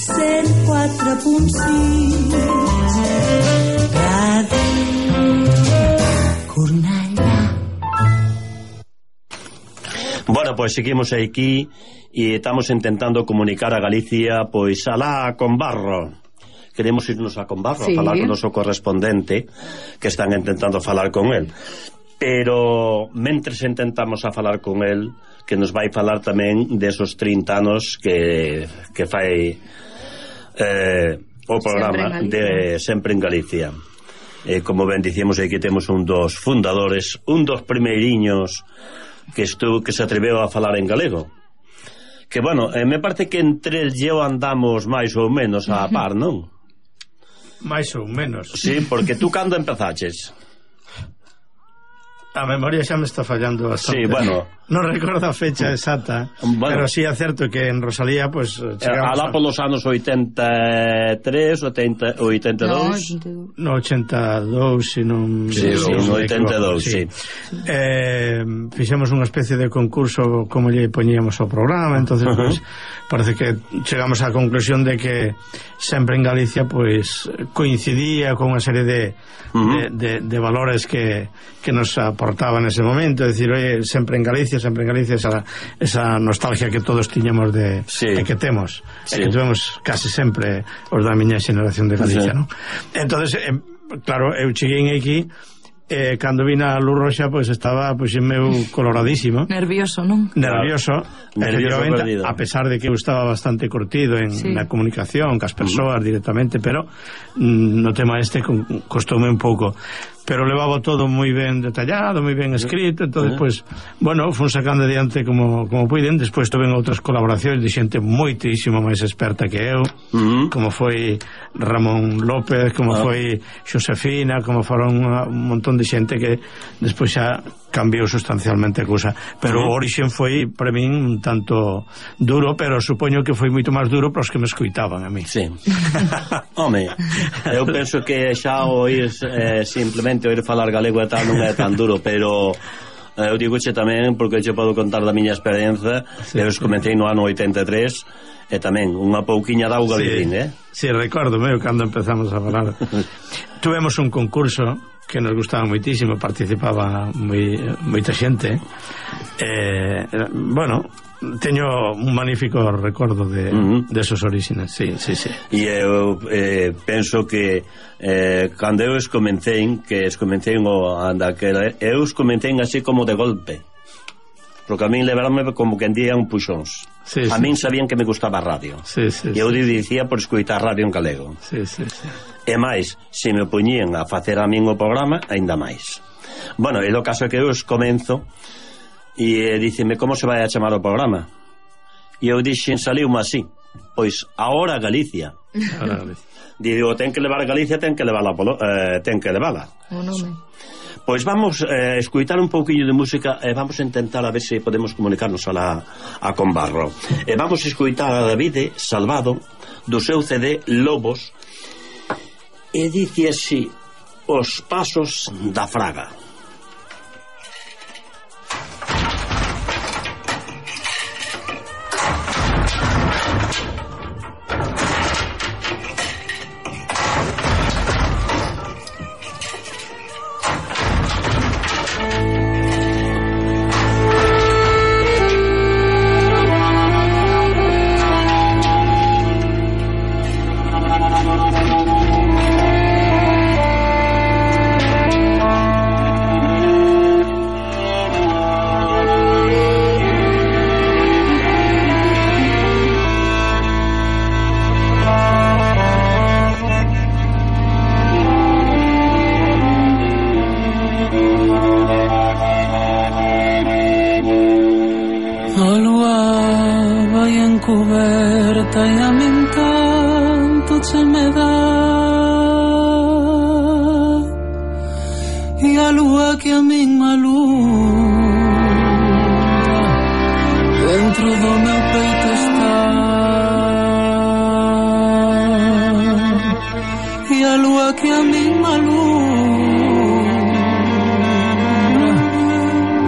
104.6 Ràdio Cornellà. Bueno, pois seguimos aquí e estamos intentando comunicar a Galicia, pois alá con Barro. Queremos irnos a Conbarro, sí, a falar con o noso correspondente, que están intentando falar con el. Pero mentres intentamos a falar con el, que nos vai falar tamén desos 30 anos que fai o programa de Sempre en Galicia. Como ben dicíamos, aquí temos un dos fundadores, un dos primeiriños que se atreveu a falar en galego. Que, bueno, me parece que entre el e eu andamos máis ou menos a par, non? Máis ou menos. Sí, porque tú cando empezaches? A memoria xa me está fallando bastante. Sí, bueno. Non recordo a fecha exacta, bueno, pero sí é certo que en Rosalía, pues, alá polos anos 83, 82. No, 82, se non... Sí, no 82, sí. Fixemos unha especie de concurso como lle poñíamos ao programa, entonces, pues, parece que chegamos á conclusión de que Sempre en Galicia, pues, coincidía con unha serie de valores que nos aportaban nese momento, é dicir, oye, Sempre en Galicia, esa nostalgia que todos tiñamos de, sí, que temos, sí, que tuvemos casi sempre os da miña xeneración de Galicia, sí, ¿no? Entonces, claro, eu cheguei aquí, cando vin a Luz Roxa, pois estaba meu coloradísimo, nervioso, non? Nervioso, a pesar de que eu estaba bastante curtido en na comunicación cas persoas directamente, pero no tema costoume un pouco, pero levaba todo moi ben detallado, moi ben escrito, entonces, pues, bueno, fun sacando adiante como puiden. Despois tuve outras colaboracións de xente moitísimo máis experta que eu, como foi Ramón López, como foi Xosefina, como foron un montón de xente que despois xa cambiou sustancialmente a cousa, pero o origen foi para min un tanto duro, pero supoño que foi moito máis duro para os que me escoitaban a mí. Sí. Home, eu penso que xa oír simplemente oír falar galego e tal non é tan duro, pero eu digoche tamén porque eu podo contar da miña experiencia. Sí, eu comecei no ano 83 e tamén unha pouquiña de auga vivín, Sí, recordo cando empezamos a falar. Tuvemos un concurso que nos gustaba moitísimo, participaba moita xente, bueno, teño un magnífico recordo de esos orígenes, sí. E eu penso que cando eu escomecei así como de golpe, porque a min levaronme como que día un puxóns. A min sabían que me gustaba a radio, e eu dicía por escoitar radio en galego. E máis, se me poñían a facer a min o programa, aínda máis. Bueno, e o caso é que eu comenzo e díceme como se vai a chamar o programa, e eu dixen, saliu-me así, pois Ahora Galicia. Digo, ten que levar a Galicia, ten que levala o nome. Pois vamos a escutar un pouquiño de música e vamos a intentar a ver se podemos comunicarnos a Conbarro. E vamos a escutar a David Salvado do seu CD Lobos, e dice así: Os pasos da fraga.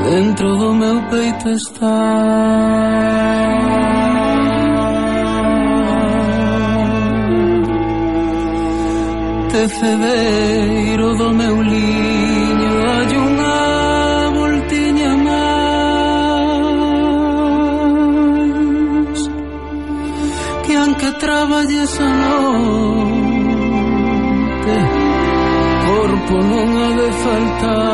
Dentro do meu peito está. tecedeiro do meu liño hai unha voltiña máis que anque traballes a noite corpo non ha de faltar,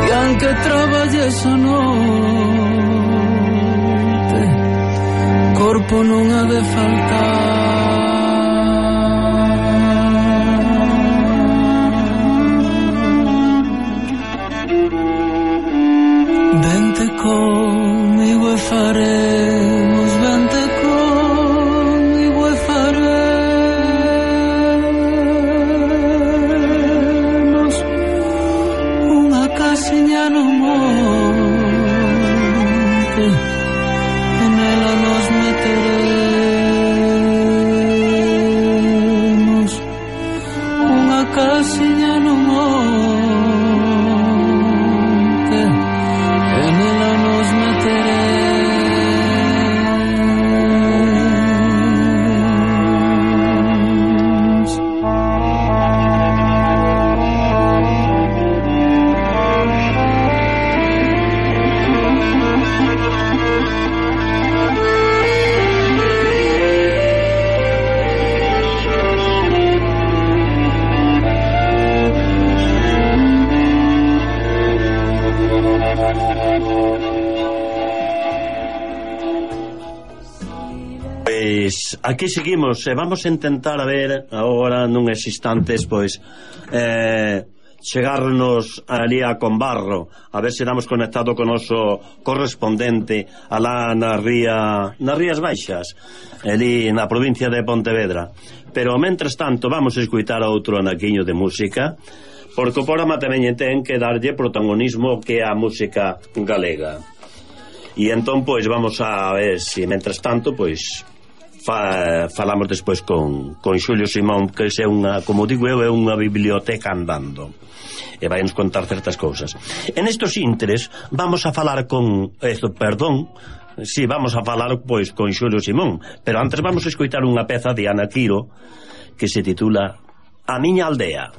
que anque traballes a noite corpo non ha de faltar. Vente comigo e faremos, vente comigo e faremos unha casiña no monte e nela nos meteremos, unha casiña no monte e nela nos meteremos. Pois aquí seguimos e vamos a intentar a ver agora nuns instantes pois chegarnos ali a Combarro, a ver se damos conectado con o noso correspondente alá nas Rías Baixas, ali na provincia de Pontevedra. Pero mentres tanto vamos a escutar outro anaquiño de música, porque o programa tamén ten que darlle protagonismo que a música galega. E entón pois vamos a ver se mentres tanto pois falamos despois con Xulio Simón, que é unha, como digo eu, é unha biblioteca andando e vai nos contar certas cousas. En estos intres vamos a falar vamos a falar pois con Xulio Simón, pero antes vamos a escoitar unha peza de Ana Quiro que se titula A miña aldea.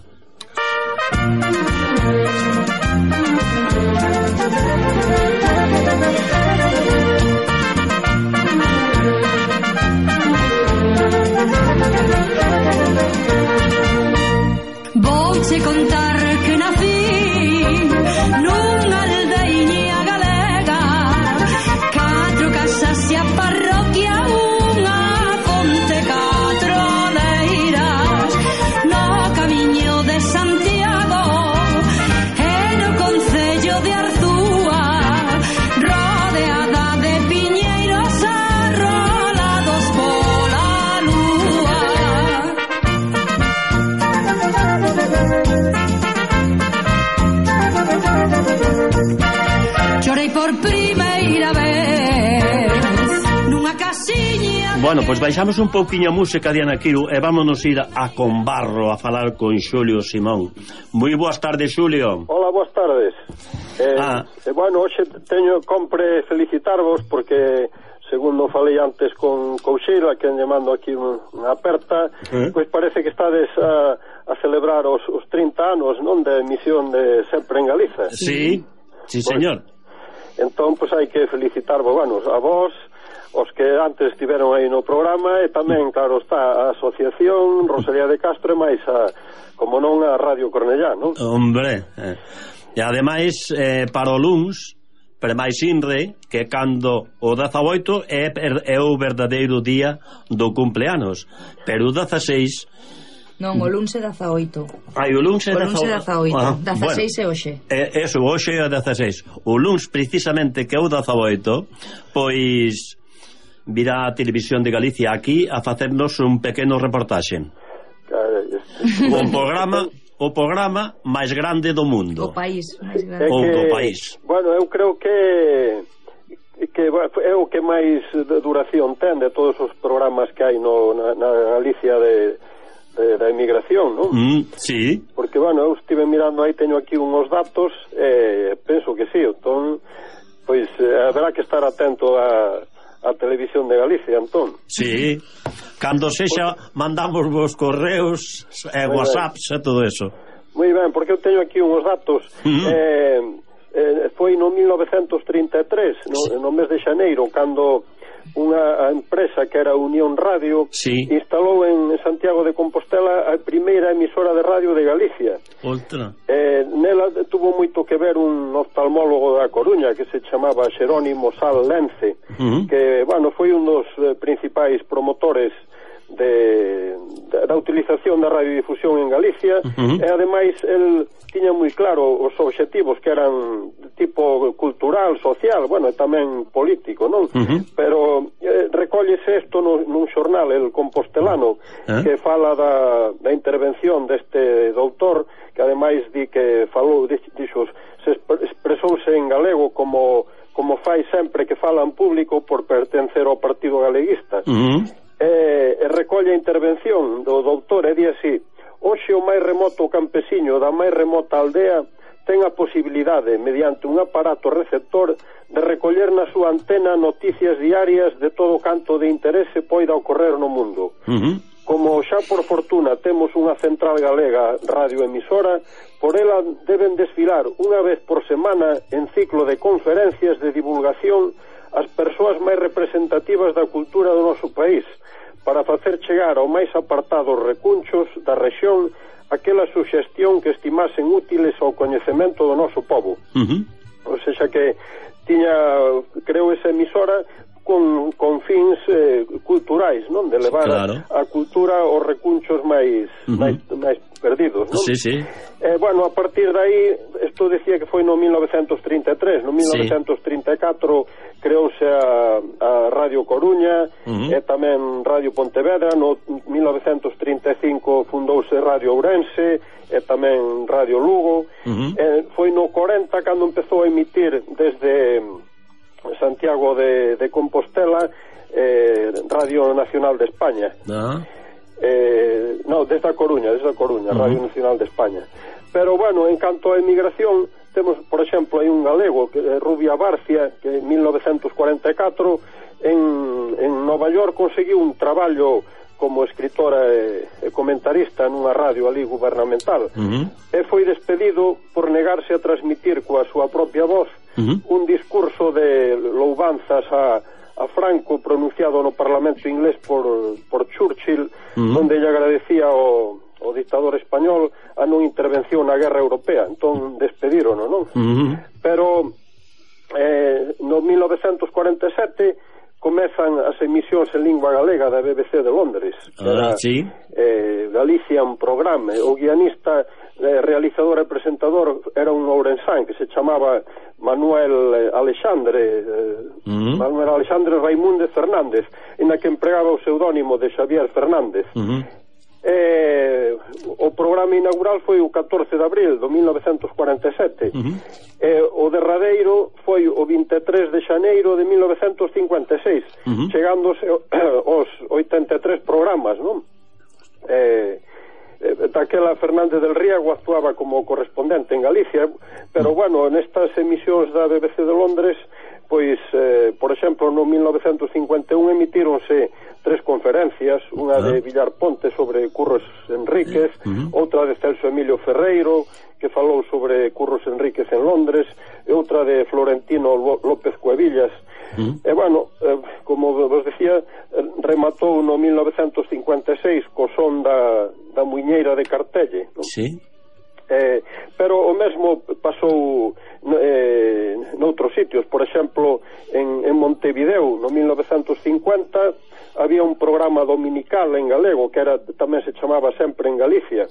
Vouche contar que nací nunha aldeiña galega, 4 casas e a parroquia, unha fonte, 4 leiras, no camiño de Santiago e no concello de Arzúa, rodeada de piñeiros arrolados pola lúa. Chorei por primeira vez nunha casiña. Bueno, pois baixamos un pouquiño a música de Ana Quiro e vámonos ir a Combarro a falar con Xulio Simón. Moi boas tardes, Xulio. Hola, boas tardes. Bueno, hoxe compre felicitarvos porque, segundo falei antes con Couchila, que lle mando aquí unha aperta, pois parece que estades a celebrar os 30 anos, non, de emisión de Sempre en Galiza. Sí, sí, señor. Entón, pois hai que felicitarvos, bueno, a vos, os que antes estiveron aí no programa, e tamén, claro, está a Asociación Rosalía de Castro e máis como non, a Radio Cornellá, non? Hombre, e ademais para o luns, pero máis inre, que cando o 18 é o verdadeiro día do cumpleanos, pero o 16... Non, o luns é 18. Ai, o luns é 18. 16 é hoxe. Eso, hoxe é 16. O luns, precisamente, que é o 18, pois virá a Televisión de Galicia aquí a facernos un pequeno reportaxe. O programa máis grande do mundo. O país máis grande. O país. Bueno, eu creo que é o que máis duración ten de todos os programas que hai na Galicia da emigración, non? Sí. Porque, bueno, eu estive mirando aí, teño aquí uns datos, penso que sí, entón, pois haberá que estar atento a Televisión de Galicia, entón. Sí. Cando sexa, mandamos vos correos, whatsapps e todo eso. Moi ben, porque eu teño aquí uns datos. Foi no 1933, no mes de xaneiro, cando unha empresa que era Unión Radio instalou en Santiago de Compostela a primeira emisora de radio de Galicia. Nela tuvo moito que ver un oftalmólogo da Coruña que se chamaba Xerónimo Sal Lence, que, bueno, foi un dos principais promotores da utilización da radiodifusión en Galicia, e ademais el tiña moi claro os obxectivos que eran tipo cultural, social, bueno, e tamén político, non? Pero recóllese isto nun xornal, El Compostelano, que fala da intervención deste doutor, que ademais di que falou, dixo, se expresouse en galego como fai sempre que fala en público por pertencer ao Partido Galeguista. E recolle a intervención do doutor e di así: hoxe o máis remoto campesiño da máis remota aldea ten a posibilidade, mediante un aparato receptor, de recoller na súa antena noticias diarias de todo canto de interese poida ocorrer no mundo. Como xa por fortuna temos unha central galega radioemisora, por ela deben desfilar unha vez por semana en ciclo de conferencias de divulgación as persoas máis representativas da cultura do noso país, para facer chegar ao máis apartados recunchos da rexión aquela suxestión que estimasen útiles ao coñecemento do noso povo. O seja que tiña, creo, esa emisora con fins culturais, non? De levar a cultura aos recunchos máis perdidos, non? Bueno, a partir de aí, isto decía que foi no 1933, no 1934 creouse a Radio Coruña, e tamén Radio Pontevedra. No 1935 fundouse Radio Ourense, e tamén Radio Lugo. Foi no 40 cando empezou a emitir desde Santiago de Compostela Radio Nacional de España. Desde a Coruña, Radio Nacional de España. Pero bueno, en canto a emigración, temos, por exemplo, hai un galego, Rubia Barcia, que en 1944 en Nova York conseguiu un traballo como escritora e comentarista nunha radio ali gubernamental, e foi despedido por negarse a transmitir coa súa propia voz un discurso de louvanzas a Franco pronunciado no Parlamento inglés por Churchill, onde lle agradecía o dictador español a non intervención na guerra europea. Entón despedirono, non? Pero no 1947 comezan as emisións en lingua galega da BBC de Londres, que era Galician Programa. O guionista, realizador e presentador era un ourensán que se chamaba Manuel Alexandre Raimúndez Fernández, en a que empregaba o pseudónimo de Xavier Fernández. O programa inaugural foi o 14 de abril do 1947, o derradeiro foi o 23 de xaneiro de 1956, chegándose aos 83 programas, non? Daquela Fernández del Riego actuaba como correspondente en Galicia, pero bueno, nestas emisións da BBC de Londres, pois, por exemplo, no 1951 emitíronse 3 conferencias, unha de Villar Ponte sobre Curros Enríquez, outra de Celso Emilio Ferreiro, que falou sobre Curros Enríquez en Londres, e outra de Florentino López Cuevillas. E bueno, como vos decía, rematou no 1956 co son da muiñeira de Cartelle, non? Pero o mesmo pasou noutros sitios. Por exemplo, en Montevideo no 1950 había un programa dominical en galego que tamén se chamaba Sempre en Galicia,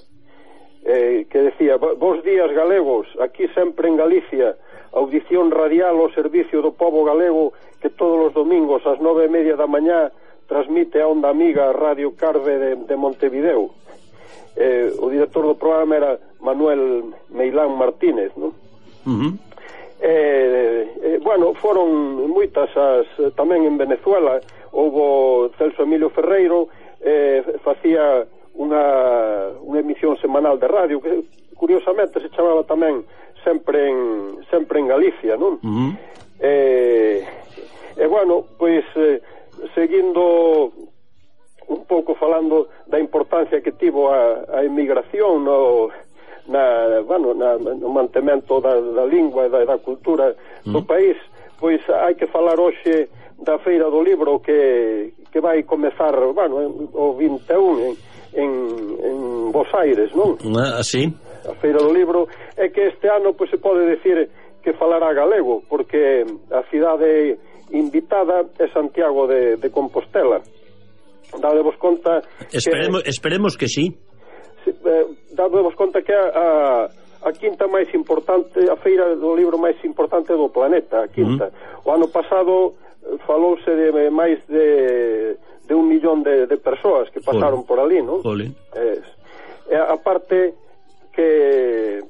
que decía: bos días galegos, aquí sempre en Galicia, audición radial ao servicio do povo galego, que todos os domingos ás 9:30 da mañá transmite a onda amiga Radio Carve de Montevideo. O director do programa era Manuel Meilán Martínez, non? Bueno, foron moitas tamén en Venezuela. Houbo Celso Emilio Ferreiro, facía unha emisión semanal de radio que curiosamente se chamaba tamén Sempre en Galicia, non? Bueno, pois seguindo un pouco tivo a emigración no mantemento da lingua e da cultura do país, pois hai que falar hoxe da Feira do Libro que vai comezar, o 21 en Bos Aires, non? Sí. A Feira do Libro, é que este ano pois se pode decir que falará galego, porque a cidade invitada é Santiago de Compostela. Dadevos conta esperemos que sí. Dadevos conta que a quinta máis importante, a Feira do Libro máis importante do planeta, a quinta. O ano pasado falouse de máis de 1 millón de persoas que pasaron por ali, non? A parte que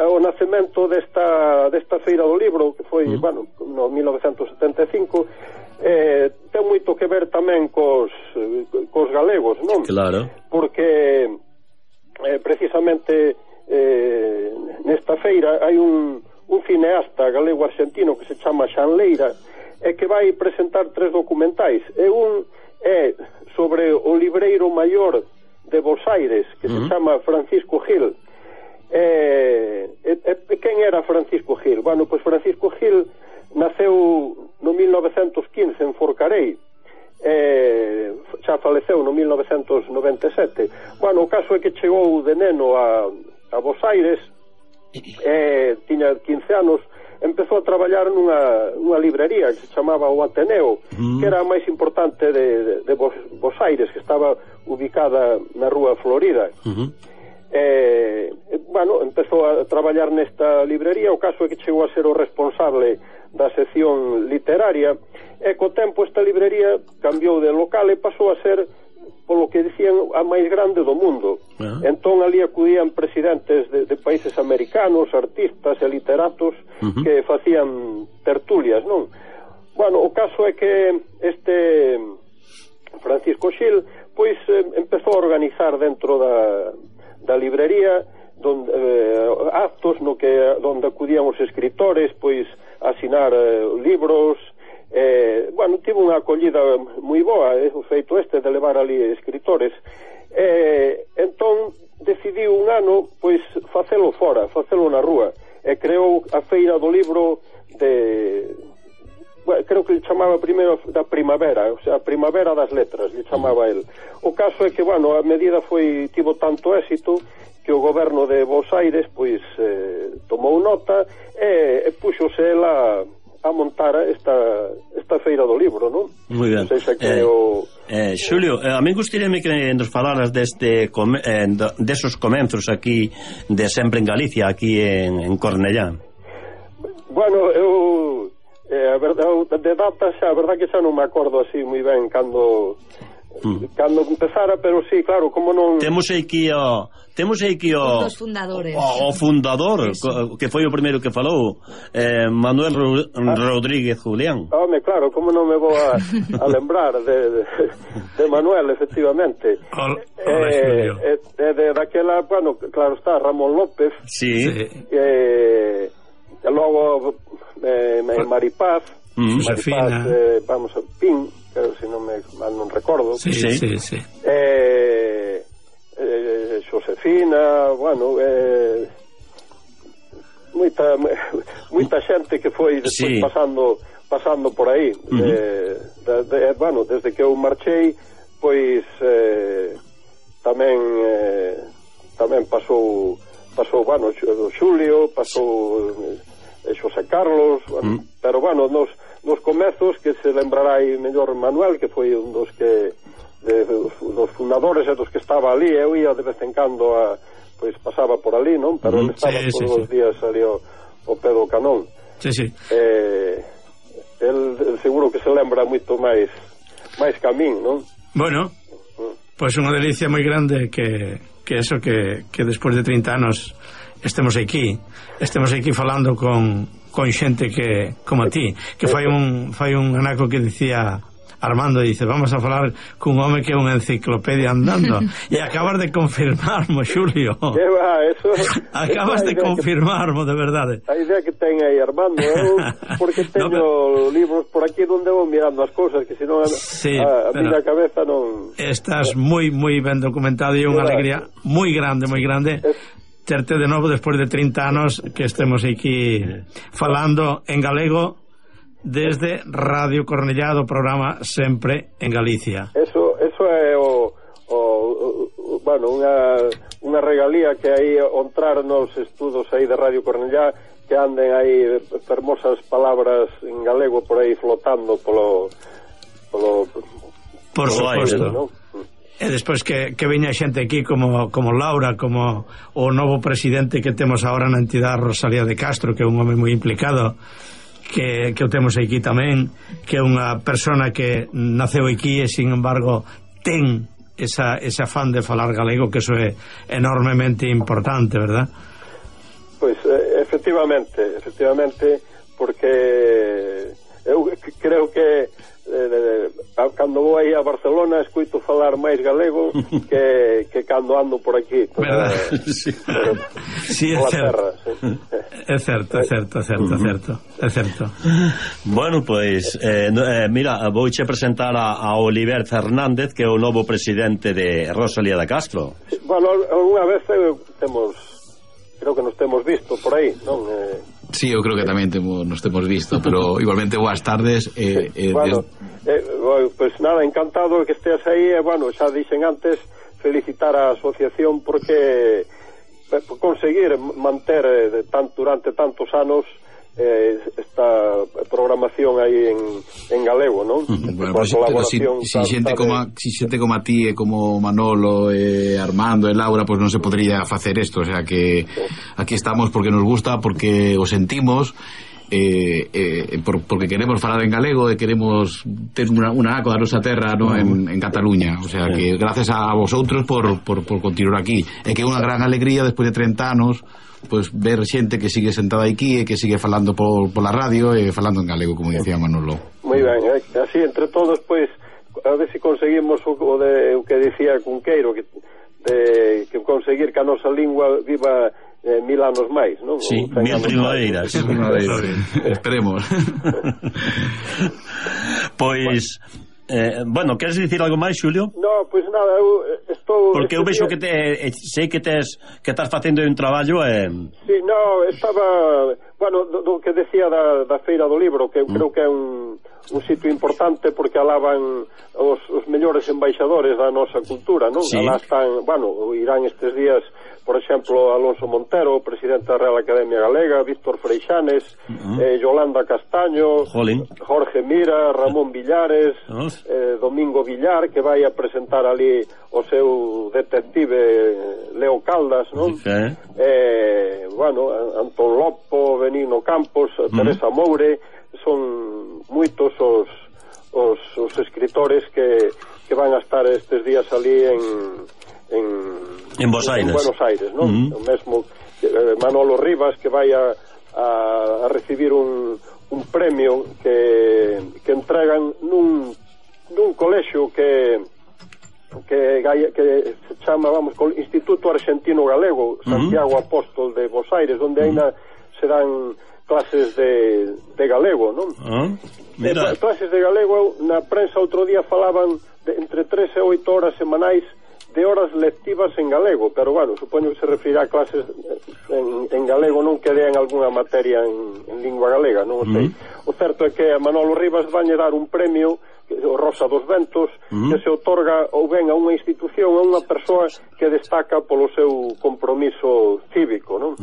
o nacemento desta Feira do Libro, que foi, no 1975, ten moito que ver tamén cos galegos, non? Claro. Porque precisamente nesta feira hai un cineasta galego-argentino que se chama Xan Leira, e que vai presentar 3 documentais, e un é sobre o libreiro maior de Bos Aires, que se chama Francisco Gil. Quen era Francisco Gil? Bueno, pois Francisco Gil naceu no 1915 en Forcarei, xa faleceu no 1997. Bueno, o caso é que chegou de neno a Bos Aires, tiña 15 anos, empezou a traballar nunha librería que se chamaba o Ateneo, que era a máis importante de Bos Aires, que estaba ubicada na rúa Florida. Empezou a traballar nesta librería. O caso é que chegou a ser o responsable da sección literaria, e co tempo esta librería cambiou de local e pasou a ser, polo que dicían, a máis grande do mundo. Entón ali acudían presidentes de países americanos, artistas e literatos que facían tertulias, non? Bueno, o caso é que este Francisco Gil pois empezou a organizar dentro da librería actos donde acudían os escritores pois a asinar libros. Tivo unha acollida moi boa o feito de levar ali escritores, entón decidiu un ano pois facelo fora, facelo na rúa, e creou a Feira do Libro creo que le chamaba primeiro da primavera, o sea, a primavera das letras le chamaba el. O caso é que, a medida tivo tanto éxito que o goberno de Bos Aires pois tomou nota e puxose ela a montar esta Feira do Libro, non? Moi ben. Xulio, a mí gustaríame que nos falaras desos comenzos aquí de sempre en Galicia, aquí en Cornellá. Bueno, eu a verdade, de datas a verdade que xa non me acordo así moi ben cando empezara, pero sí, claro, como non... Temos aquí o dos fundadores. O fundador, que foi o primeiro que falou, Manuel Rodríguez Julián. Home, claro, como non me vou a lembrar de Manuel, efectivamente. De daquela, claro está, Ramón López. Sí. E logo Maripaz, Josefina, vamos a Pin, se non recordo. Sí. Josefina, moita xente que foi despois pasando por aí. Desde que eu marchei, pois tamén pasou Xulio, pasou Xosé Carlos, pero nos comezos que se lembrará aí mellor Manuel, que foi un dos fundadores e dos que estaba ali. Eu ia de vez en cando pois pasaba por ali, non? Pero ele estaba todos os días ali ao pé do canón. El seguro que se lembra moito máis que a min, non? Bueno, pois unha delicia moi grande que eso que despois de 30 anos estemos aquí falando con xente que como a ti, que fai un anaco que dicía Armando dice, vamos a falar cun home que é unha enciclopedia andando. E acabas de confirmarmo, Xulio. Que va, eso... Acabas de confirmarmo, de verdade. A idea que ten aí, Armando, porque teño libros por aquí onde vou mirando as cousas, que senón a miña cabeza non... Estás moi ben documentado e unha alegría moi grande, terte de novo despois de 30 anos que estemos aquí falando en galego desde Radio Cornellá, do programa Sempre en Galicia. Eso é bueno, unha regalía que aí ontrar nos estudos aí de Radio Cornellá, que anden aí fermosas palabras en galego por aí flotando por suposto, ¿no? E despois que veña xente aquí como Laura, como o novo presidente que temos agora na entidade, Rosalía de Castro, que é un home moi implicado, que o temos aquí tamén, que é unha persona que naceu aquí e sin embargo ten ese afán de falar galego, que eso é enormemente importante, verdad? Pois efectivamente, porque eu creo que cando vou aí a Barcelona escuito falar máis galego que cando ando por aquí, verdad? Sí, é certo. É certo. Bueno, pois mira, vouche presentar a Oliver Fernández, que é o novo presidente de Rosalía de Castro. Bueno, algunha vez creo que nos temos visto por aí, non? Sí, eu creo que tamén nos temos visto, pero igualmente boas tardes. Bueno, pues nada, encantado que estés aí. Bueno, xa dixen antes, felicitar a asociación porque conseguir manter durante tantos anos esta programación aí en galego, non? Bueno, pues si xente como a ti e como Manolo, Armando e Laura, pues non se podría facer isto, o sea que aquí estamos porque nos gusta, porque o sentimos, porque queremos falar en galego e queremos ter unha aco da nosa terra, ¿no? en Cataluña, o sea que gracias a vosotros por continuar aquí, e que é unha gran alegría despois de 30 anos pues ver xente que sigue sentada aquí e que sigue falando por la radio e falando en galego, como dicía Manolo. Moi ben, así entre todos, pois a ver se conseguimos o que dicía Cunqueiro, que conseguir que a nosa lingua viva 1000 anos máis, non? Sí, 1000 primaeiras. Esperemos. Pois bueno, queres dicir algo máis, Xulio? No, pois nada, eu estou... Porque eu vexo que sei que estás facendo un traballo Sí, no, estaba... Bueno, do que decía da Feira do Libro, que eu creo que é un sitio importante porque alaban os mellores embaixadores da nosa cultura, non? Sí. Alá están, bueno, irán estes días, por exemplo, Alonso Montero, presidente da Real Academia Galega, Víctor Freixanes, Yolanda Castaño, Jorge Mira, Ramón Villares, Domingo Villar, que vai a presentar ali o seu detective Leo Caldas, non? Bueno, Antón Lopo, Benigno Campos, Teresa Moure, son moitos os escritores que van a estar estes días ali en Buenos Aires, non? O mesmo Manolo Rivas, que vai a recibir un premio que entregan nun colexio que se chama, Instituto Argentino Galego, Santiago Apóstol de Buenos Aires, onde ainda se dan clases de galego, non? Clases de galego, na prensa outro día falaban de entre 3 e 8 horas semanais de horas lectivas en galego, pero bueno, supoño que se referirá a clases en galego, non que dean algunha materia en lingua galega, non o sei. O certo é que a Manolo Rivas vanlle dar un premio, o Rosa dos Ventos, que se otorga ou ben a unha institución, a unha persoa que destaca polo seu compromiso cívico, non?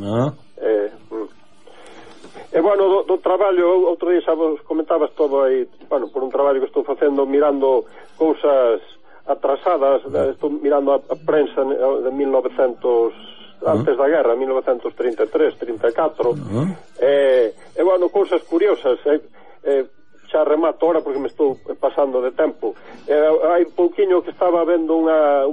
E bueno, do traballo, outro día xa vos comentabas todo aí, bueno, por un traballo que estou facendo mirando cousas atrasadas, estou mirando a prensa de 1900, antes da guerra, 1933, 34, e bueno, cousas curiosas, xa remato ahora porque me estou pasando de tempo. Hai pouquiño que estaba vendo un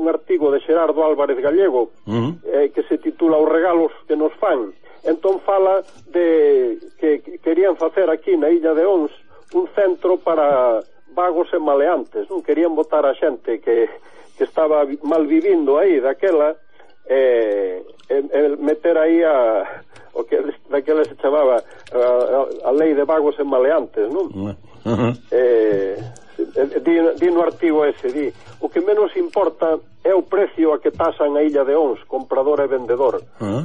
artigo de Xerardo Álvarez Gallego, que se titula Os regalos que nos fan. Entón fala de que querían facer aquí na illa de Ons un centro para vagos e maleantes, non querían botar a xente que estaba mal vivindo aí daquela meter aí o que daquela se chamaba a lei de vagos e maleantes, non? Di no artigo ese, di o que menos importa é o precio a que tasan a illa de Ons, comprador e vendedor.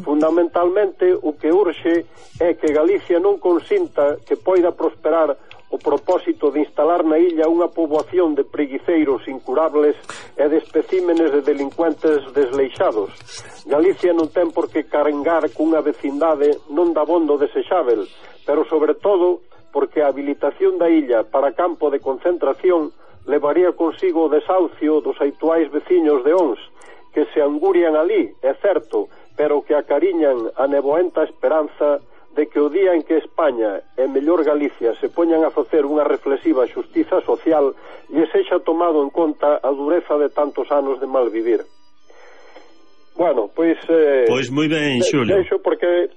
Fundamentalmente o que urxe é que Galicia non consinta que poida prosperar o propósito de instalar na illa unha poboación de preguiceiros incurables e de especímenes de delincuentes desleixados. Galicia non ten por que carengar cunha vecindade non dabondo desexável, pero sobre todo porque a habilitación da illa para campo de concentración levaría consigo o desahucio dos habituais veciños de Ons, que se angurian ali, é certo, pero que acariñan a neboenta esperanza de que o día en que España e mellor Galicia se poñan a facer unha reflexiva xustiza social lle sexa tomado en conta a dureza de tantos anos de mal vivir. Bueno, pois moi ben, Xulio. Deixo porque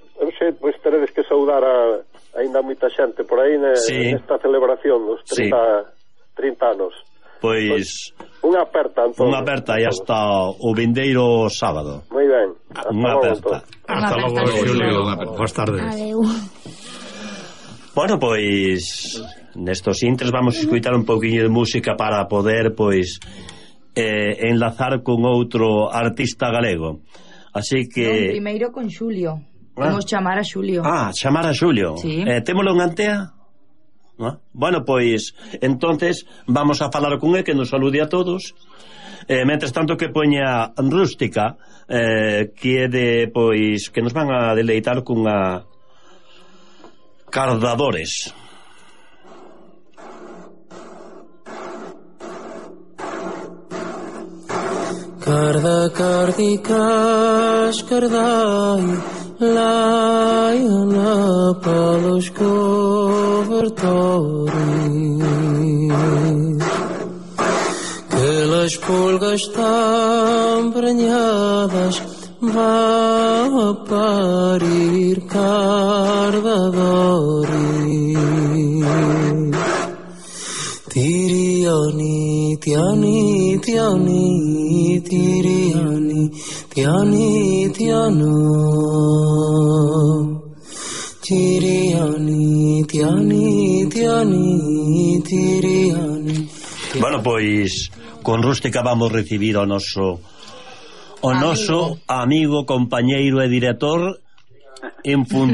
pois teredes que saudar a aínda moita xente por aí nesta celebración dos 30 anos. Pois unha aperta, Antón. Unha aperta e hasta o vindeiro sábado. Moi ben. Unha aperta. Hasta logo, Xulio. Boas tardes. Adeu. Bueno, pois nestos intres vamos a escutar un pouquiño de música para poder, pois, enlazar con outro artista galego. Así que... Primeiro con Xulio. Vamos chamar a Xulio. Chamar a Xulio. Sí. Témolo en Antea? Bueno, pois entonces vamos a falar con él, que nos salude a todos. Mentres tanto que poña Rústica, que é de, pois, que nos van a deleitar cunha Cardadores. Carda, cardicas, cardai, laiana pelos cobertores, que las pulgas estão prenhadas, vá a parir cardadores. Tiriani, tiani, tiani, tiriani, tiani, tiano. Tiriani, tiani, tiani, tiriani. Bueno, pois con Rústica vamos recibir o noso amigo, compañeiro e director en función